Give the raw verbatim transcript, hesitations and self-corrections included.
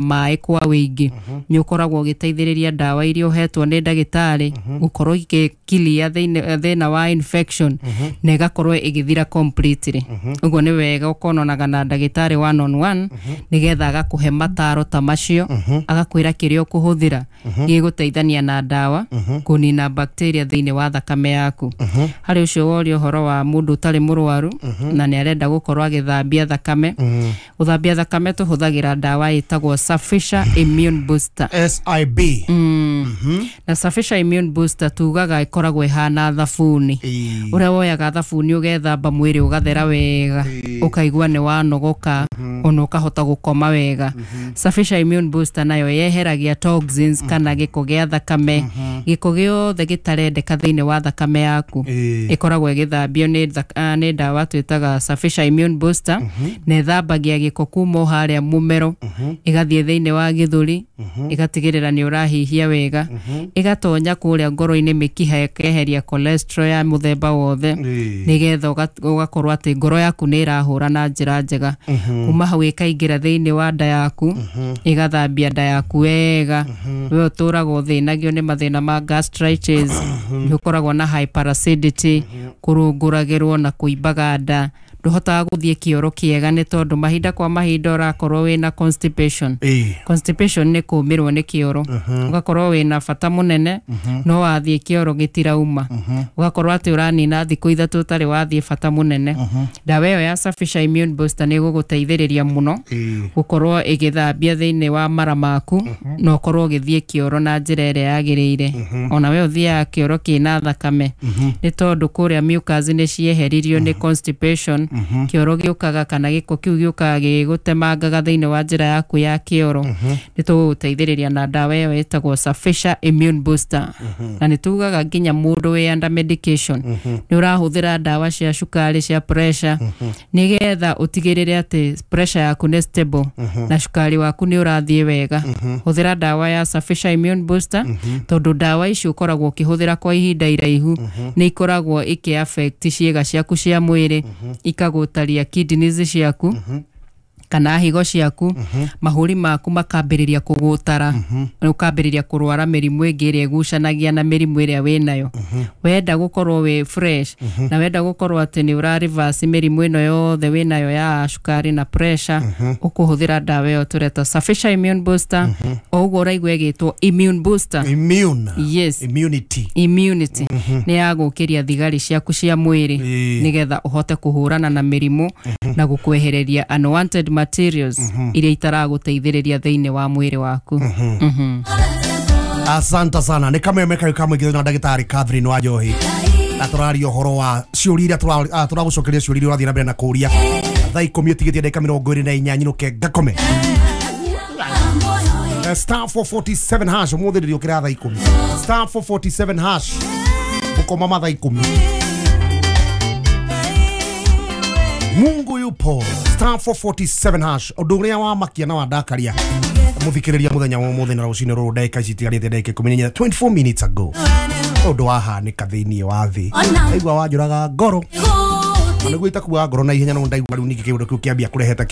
Maĩ kwa wĩingĩ nĩ ũkoragwo ũgĩteithĩrĩria ndawa iria ũhetwo nĩ ndagĩtarĩ gũkorwo igĩkilia thĩinĩ- thĩna wa infection na ĩgakorwo ĩgĩthira completely. Ũguo nĩ wega ũkonanaga na ndagĩtarĩ one on one, nĩgetha agakũhe mataro ta macio, agakwĩra kĩrĩa ũkũhũthĩra gĩgũteithania na ndawa kũnina bacteria thĩinĩ wa thakame yaku. Harĩ ũcio woria ũhoro wa mũndũ ũtarĩ mũrwaru na nĩ arenda gũkorwo agĩthambia thakame, gũthambia thakame tũhũthagĩra ndawa ĩtagwo Safisha Immune Booster. S I B. Na Safisha Immune Booster tugaga ĩkoragwo ĩhana thabuni. Ĩĩ. Ũrĩa woyaga thabuni ũgethamba mwĩrĩ ũgathera wega, ũkaigua nĩ wanogoka ona ũkahota gũkoma wega, Safisha Immune Booster nayo yeheragia toxins kana gĩko gĩa thakame, gĩko gĩothe gĩtarendeka thĩinĩ wa thakame yaku. Ĩĩ. Ĩkoragwo ĩgĩthambio nĩ thak- ah, nĩ ndawa twĩtaga Safisha Immune Booster, na ĩthambagia gĩko kuma o harĩa mũmero, ĩgathiĩ thĩinĩ wa gĩthũri, ĩgatigĩrĩra nĩ ũrahihia wega, ĩgatonya kũrĩa ngoro-inĩ mĩkiha, ĩkeheria cholesterol ya mũthemba wothe, Ĩĩ. nĩgetha ũga- ũgakorwo atĩ ngoro yaku nĩ ĩrahũra na njĩra njega. Kuma hau ĩkaingĩra thĩinĩ wa nda yaku, ĩgathambia nda yaku wega. We ũtũraga ũthĩnagio nĩ mathĩna ma gastritis, nĩ ũkoragwo na hyperacidity, kũrũngũragĩrwo na kũimbaga nda, ndũhotaga gũthiĩ kĩoro kĩega nĩ tondũ mahinda kwa mahinda ũrakorwo wĩna constipation. Ĩĩ. Constipation nĩ kũmĩrwo nĩ kĩoro, ũgakorwo wĩna bata mũnene no wathiĩ kĩoro gĩtirauma, ũgakorwo atĩ ũranina thikũ ithatũ ũtarĩ wathiĩ bata mũnene. Ndawa ĩyo ya Safisha Immune Booster nĩ ĩgũgũteithĩrĩria mũno Ĩĩ. gũkorwo ĩgĩthambia thĩinĩ wa mara maku na ũkorwo ũgĩthiĩ kĩoro na njĩra ĩrĩa yagĩrĩire. Ona we ũthiaga kĩoro kĩna thakame nĩ tondũ kũrĩa mucus nĩ cieheririo nĩ constipation, kĩoro gĩũkaga kana gĩko kĩu gĩũkaga gĩgũtemangaga thĩinĩ wa njĩra yaku ya kĩoro. Nĩ tũgũgũteithĩrĩria na ndawa ĩyo ĩtagwo Safisha Immune Booster. Na nĩ tugaga nginya mũndũ wĩ under medication, nĩ ũrahũthĩra ndawa cia cukari, cia pressure, nĩgetha ũtigĩrĩre atĩ pressure yaku nĩ stable na cukari waku nĩ ũrathiĩ wega, hũthĩra ndawa ya Safisha Immune Booster, tondũ ndawa ici ũkoragwo ũkĩhũthĩra kwa ihinda iraihu nĩ ikoragwo ikĩ affect ciĩga ciaku cia mwĩrĩ, ikagũtaria kidneys ciaku kana higo ciaku, mahũri maku makambĩrĩria kũgũtara, ũkambĩrĩria kũrwara mĩrimũ ĩngĩ ĩrĩa ĩgucanagia na mĩrimũ ĩrĩa wĩnayo. Wenda gũkorwo wĩ fresh na wenda gũkorwo atĩ nĩ ũra reverse mĩrimũ ĩno yothe wĩnayo ya cukari na pressure, ũkũhũthĩra ndawa ĩyo tũreta Safisha Immune Booster. O ũguo ũraigua ĩgĩtwo immune booster. Immune. Yes. Immunity. Immunity nĩ ya gũkĩria thigari ciaku cia mwĩrĩ, Ĩĩ. nĩgetha ũhote kũhũrana na mĩrimũ na gũkwehereria unwanted materials iria itaragũteithĩrĩria thĩinĩ wa mwĩrĩ waku. Mhm. Asante sana. Nĩ kameme kayo kamũingĩ na ndagĩtarĩ Catherine wa Njohi, na tũraria ũhoro wa ciũria iria tũra- ah, tũragũcokeria, ciũria iria ũrathiĩ na mbere na kũria. Thaa ikũmi ũtigĩtie ndagĩka mĩrongo ĩrĩ na inya, nyinũke ngakome. Eh, star four four seven hash. Ũmũthĩ ndĩrĩũkĩra thaa ikũmi. Star four four seven hash, gũkoma mathaa ikũmi. Mungu yupo. Star four four seven hash. Ũndũ ũrĩa wamakia na wandakaria mũthikĩrĩria mũthenya wa ũmũthĩ na rũcinĩ rũrũ, ndagĩka ici itigarĩte ndagĩka ikũmi na inya, twenty-four minutes ago, ũndũ wahanĩka thĩinĩ wa thĩ aigua wanjũraga ngoro, na nĩguo itakuaga ngoro na ihenya, no ndaigua rĩu ningĩ kĩũndũ kĩu kĩambia kũreheta.